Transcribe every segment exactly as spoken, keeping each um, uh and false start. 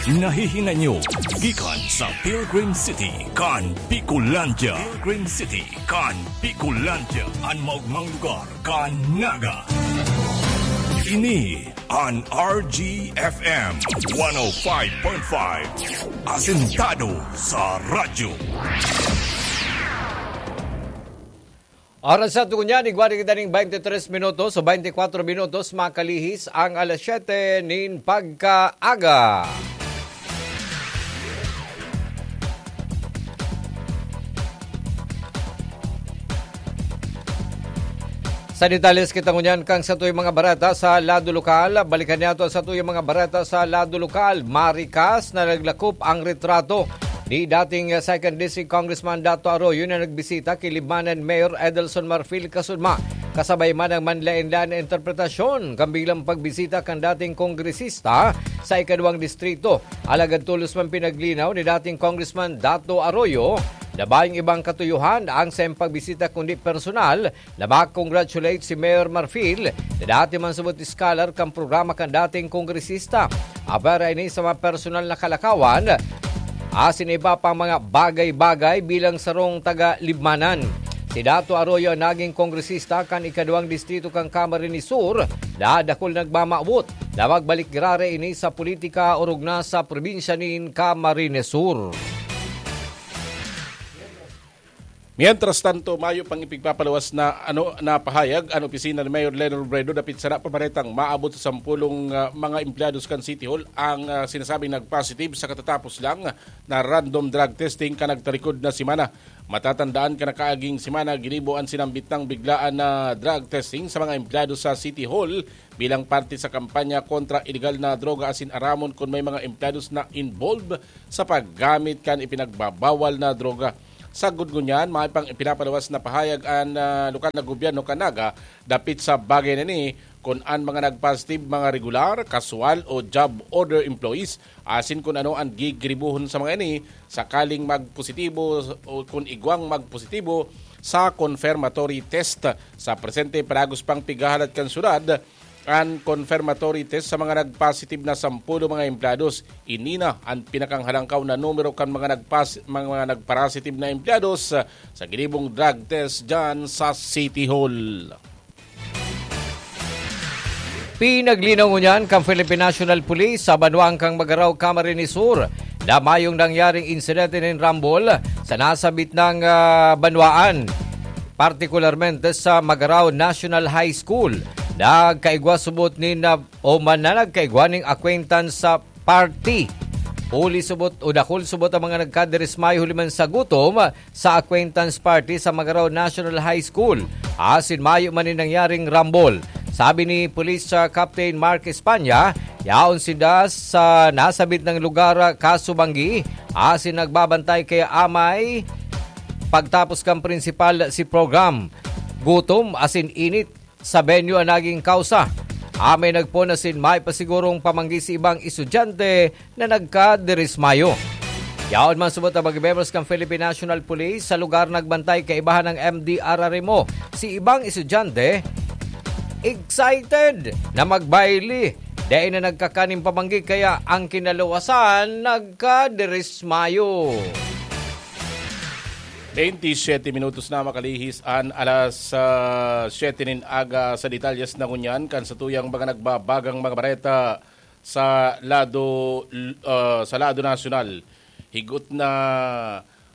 Nahihinay nyo gikan sa Pilgrim City kan Bicolandia. Pilgrim City kan Bicolandia, an maogmang lugar kan Naga. Ini an R G F M one oh five point five, asentado sa radyo. Oras sa tungo niyan, igwa na kita ning twenty-three minutos o twenty-four minutos, makalihis ang alas siyete nin pagkaaga. Sa detalles kita ngunyan kan satuyang mga bareta sa lado lokal. Balikan niyato ang satuyang mga bareta sa lado lokal. Marikas na naglakop ang retrato ni dating, ah, Second District Congressman Dato Arroyo na nagbisita ki Libmanan Mayor Edelson Marfil Kasunma. Kasabay man ang manlaen-laen na interpretasyon kan biglang pagbisita kan dating kongresista sa ikaduwang distrito. Alagad tolos man pinaglinaw ni dating Congressman Dato Arroyo na mayong ibang katuyohan ang saiyang pagbisita kundi personal na ma-congratulate si Mayor Marfil na dati man subot scholar kan programa kan dating kongresista. Apwera ini sa mga personal na kalakawan, asin iba pang mga bagay-bagay bilang sarong taga-Libmanan. Si Dato Arroyo ang naging kongresista kan ikaduwang distrito kan Camarines Sur na dakul nagmamawot na magbalik giraray ini sa politika orog na sa probinsya nin Camarines Sur. Mientras tanto, mayo pang ipigpapaluwas na ano na pahayag an opisina ni Mayor Leno Robredo dapit sa napabaretang maabot sa sampulong, ah, mga empleyados kan City Hall ang, ah, sinasabing nag-positive sa katatapos lang na random drug testing kan nagtarikod na semana. Matatandaan kan nakaaging semana, ginibo an sinambit nang biglaan na drug testing sa mga empleyado sa City Hall bilang parte sa kampanya kontra iligal na droga asin aramon kun may mga empleyados na involved sa paggamit kan ipinagbabawal na droga. Sagkod ngunyan, mayo pang ipinapaluwas na pahayag an, ah, lokal na gobyerno kan Naga dapit sa bagay na ini, kun an mga nagpositive mga regular, kaswal o job order employees, asin kun ano an gigiribohon sa mga ini sakaling magpositibo o kun igwang magpositibo sa confirmatory test. Sa presente, padagos pang pighahalat kan syudad an confirmatory test sa mga nagpositive na sampolo mga empleyados. Ini na an pinakanghalangkaw na numero kan mga nagpas-, mga nagparasitive na empleyados sa ginibong drug test dyan sa City Hall. Pinaglinaw ngunyan kan Philippine National Police sa banwaan kan Magarao, Camarines Sur, na mayong nangyaring insidente nin rambol sa nasabit nang, ah, banwaan, partikularmente sa Magarao National High School. Nagkaigwa subot nin, ah, o man na nagkaigwa ning acquaintance sa party. Huli subot o dakul subot ang mga nagkadirismayo huli man sa gutom sa acquaintance party sa Magarao National High School. Asin mayo man nin nangyaring rambol. Sabi ni Police, ah, Captain Mark Espanya, yaon sinda sa nasabit nang lugar, ah, kasubanggi, asin nagbabantay kaya amay pagtapos kan principal si program. Gutom asin init sa venue ang naging kausa. Amay nagpon asin may pa sigurong pamanggi si ibang estudyante na nagkadirismayo. Yaon man subot ang mga membros kan Philippine National Police sa lugar nagbantay kaibahan ng M D R R M O. Si ibang estudyante, excited na magbaili. Dahil na nagkakaning pamanggi kaya ang kinaluwasan nagkadirismayo. Twenty-siyete minutos na makalihis an alas, ah, siyete nin aga. Sa detalyes na ngunyan kan satuyang mga nagbabagang mga bareta sa lado, ah, sa lado nasyonal. Higot na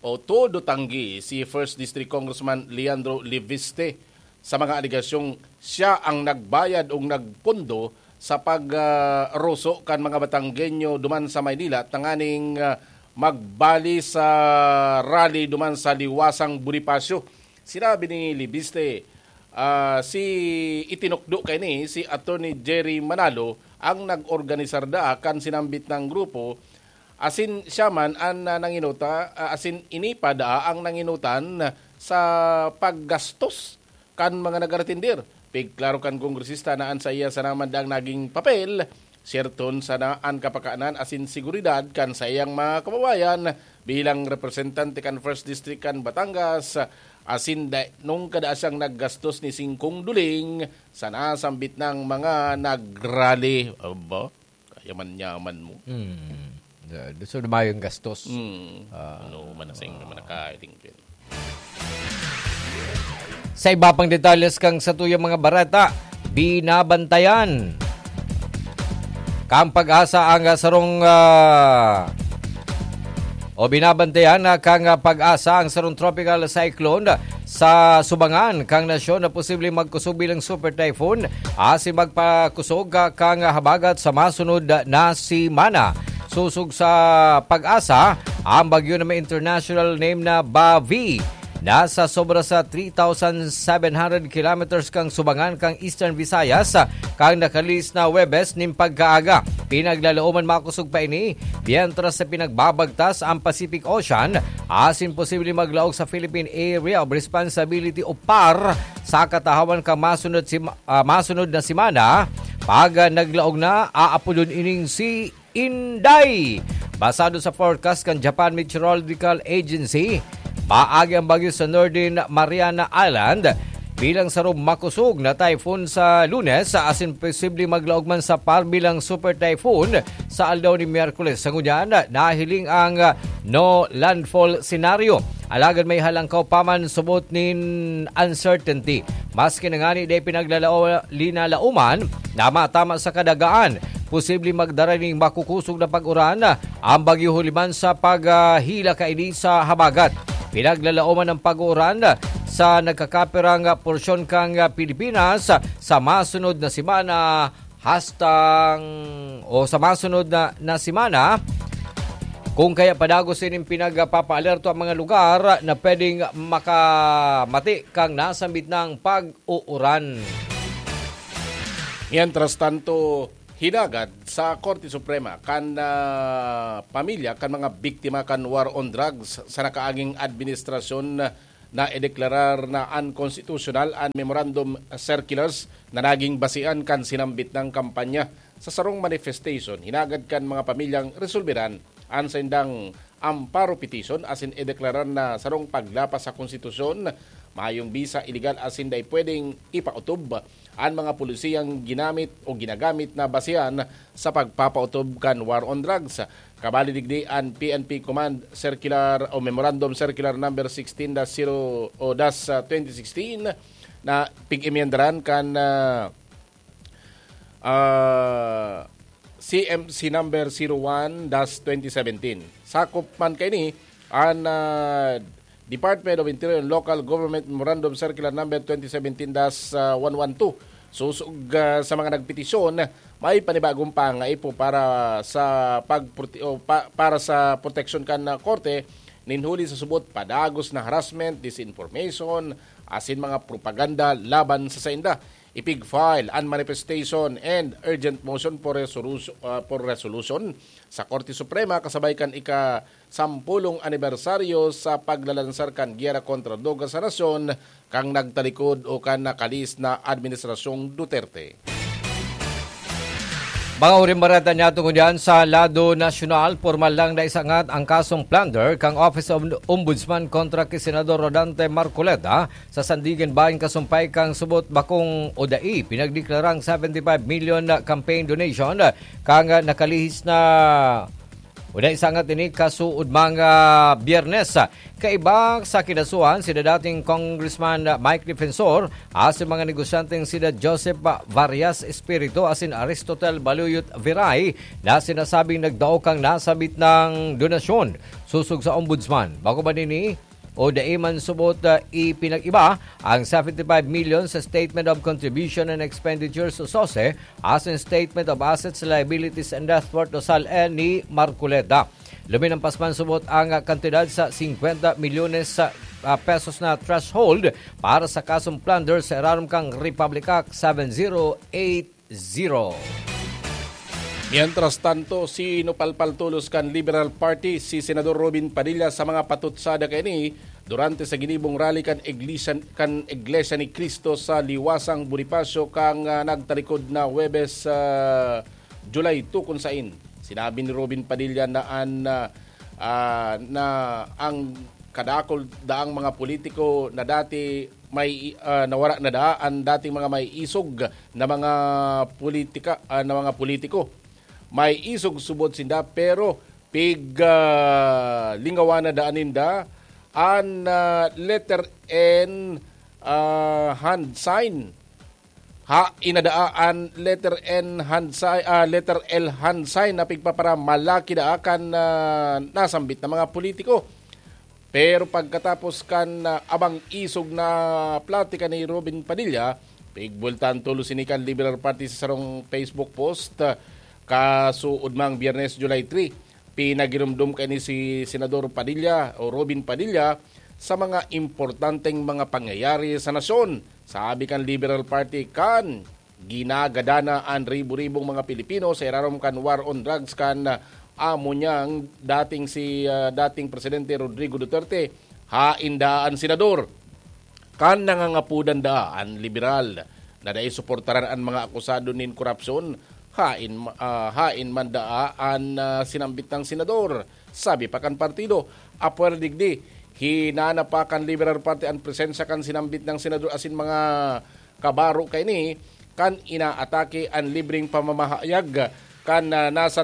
o todo tanggi si First District Congressman Leandro Leviste sa mga alegasyong siya ang nagbayad o nagpondo sa pag, ah, roso kan mga Batanggenyo duman sa Maynila tanganing, ah, magbali sa rally duman sa Liwasang Bonifacio. Sinabi ni Leviste, ah, si itinukdo kaini si Attorney Jerry Manalo ang nag-organisar daa kan sinambit na grupo, asin siya man an, ah, nanginuta-, ah, asin ini pa daa ang nanginutan sa paggastos kan mga nag-aretindir. Pigklaro kan kongresista na an saiya sana man daang naging papel, siyerton sana an kapakanan asin seguridad kan saiyang mga kababayan bilang representante kan First District kan Batangas, asin da-, nung kada siyang naggastos ni singkong duling sa nasambit na mga nagrally. Aba, kayaman-yaman mo. Hmm. Uh, so, mayong gastos. Mm. Ah. Ano, manasing naman nakatingkin. Sa iba pang detalles kang satuyang mga bareta, binabantayan kang pag-asa ang ah, sarong ah, o binabantayan na kang ah, pag-asa ang sarong tropical cyclone sa subangan kang nasyon na posibleng magkusog bilang super typhoon asin magpakusog ah, kang habagat sa masunod na simana. Susog sa pag-asa, ang bagyo na may international name na Bavi nasa sobra sa three thousand seven hundred kilometers kang subangan kang Eastern Visayas, kang nakalihis na Huwebes nin pagkaaga. Pinaglalaoman makusog pa ini, mientras sa pinagbabagtas ang Pacific Ocean, asin posible maglaog sa Philippine Area of Responsibility o par sa katahawan kang masunod, si, ah, masunod na semana. Pag ah, naglaog na, aapodon ining si Inday. Basado sa forecast kan Japan Meteorological Agency, maagi ang bagyo sa Northern Mariana Island bilang sarong makusog na typhoon sa Lunes, asin posible maglaog man sa par bilang super typhoon sa aldaw ni Miyerkules. Sa ngunyan, nahiling ang no landfall scenario. Alagad may halangkaw pa man subot nin uncertainty. Maski na ngani dai pinaglalao-, linalauman na matama sa kadagaan, posible magdara ning makukusog na pag-uran ang bagyo huli man sa paghila kaini sa habagat. Pinaglalaoman ang pag-uuran sa nagkakapirang porsyon kang Pilipinas sa masunod na semana hastang o sa masunod na, na semana. Kung kaya padagos ining pinagpapaalerto ang mga lugar na pwedeng makamati kang nasambit ng pag-uuran. Mientras tanto, hinagad sa Korte Suprema kan ah, pamilya kan mga biktima kan war on drugs sa nakaaging administrasyon na ideklarar na unconstitutional an memorandum circulars na naging basean kan sinambit nang kampanya. Sa sarong manifestation, hinagad kan mga pamilyang resolberan an saindang amparo petition asin ideklarar na sarong paglapas sa konstitusyon, mayong bisa, iligal asin dai pwedeng ipaotob an mga polisiyang ginamit o ginagamit na basehan sa pagpapautob kan war on drugs. Kabali digdi an P N P Command Circular o Memorandum Circular Number sixteen dash zero o dash twenty sixteen na pig-emyendaran kan ah, ah, C M C Number zero one dash twenty seventeen. Sakop man kaini an ah, Department of Interior and Local Government Memorandum Circular Number twenty seventeen dash one one two. Susog ah, sa mga nagpetisyon, may panibagong pangaipo para sa pagprote- o pa- para sa proteksyon kan ah, korte nin huli sa subot padagos na harassment, disinformation, asin mga propaganda laban sa sainda. Ipig-file an manifestation and urgent motion for resolution, ah, for resolution sa Korte Suprema kasabay kan ika sampulong anibersaryo sa paglalansar kan giyera kontra droga sa nasyon kan nagtalikod o kan nakalihis na Administrasyong Duterte. Mga huring bareta niya tungod yan sa lado nasyonal, pormal lang na isangat ang kasong plunder kang Office of Ombudsman kontra ki Senador Rodante Marcoleta sa sandigan bahin kasumpay kang subot bakong o dai pinagdeklarang seventy-five million na campaign donation kang nakalihis na Una isangat ini kasuod mga Biyernes. Kaiba sa kinasuhan, sida dating Congressman Mike Defensor asin mga negosyanteng sida Joseph Varias Espiritu asin Aristotel Baluyot Viray na sinasabing nagdao kang nasabit ng donasyon susog sa ombudsman. Bako ba nini o dai man subot ah, ipinag-iba ang seventy-five million sa Statement of Contribution and Expenditures o sose asin Statement of Assets, Liabilities and Net Worth o sal-e ni Marcoleta. Luminampas man subot ang ah, kantidad sa singkwenta milyones sa ah, pesos na threshold para sa kasong plunder sa irarom kang Republic Act seven zero eight zero. Mientras tanto, sinupalpal tolos kan Liberal Party si Senador Robin Padilla sa mga patutsada kaini durante sa ginibong rally kan Iglesia, kan Iglesia ni Cristo sa Liwasang Bonifacio kang ah, nagtalikod na Huwebes sa July two, kun sain sinabi ni Robin Padilla na an ah, ah, na ang kadakul daang mga politiko na dati may ah, nawara na daa an dating mga may isog na mga politika ah, na mga politiko. May isog subod sinda, pero pig ah, lingawan na daan ninda an ah, letter N ah, hand sign. Ha, inadaa an letter N hand sign, ah, letter L hand sign na pigpaparamalaki daa kan ah, nasambit na mga politiko. Pero pagkatapos kan ah, abang isog na platika ni Robin Padilla, pigbultan tulos ini kan Liberal Party sa sarong Facebook post ah, kasuod mang Biyernes, July three. Pinagirumdom kaini si Senador Padilla o Robin Padilla sa mga importanteng mga pangyayari sa nasyon. Sabi kan Liberal Party, kan ginagadana an ribo-ribong mga Pilipino sa irarom kan war on drugs kan ah, amo niyang dating si ah, dating Presidente Rodrigo Duterte, hain daa an senador. Kan nangangapudan daa an liberal na dai suportaran an mga akusado nin korupsyon, hain, ah, hain man daa an ah, sinambit na senador. Sabi pa kan partido, apwera digdi, hinana pa kan Liberal Party an presensya kan sinambit na senador asin mga kabaro kaini kan inaatake an libreng pamamahayag kan ah, nasa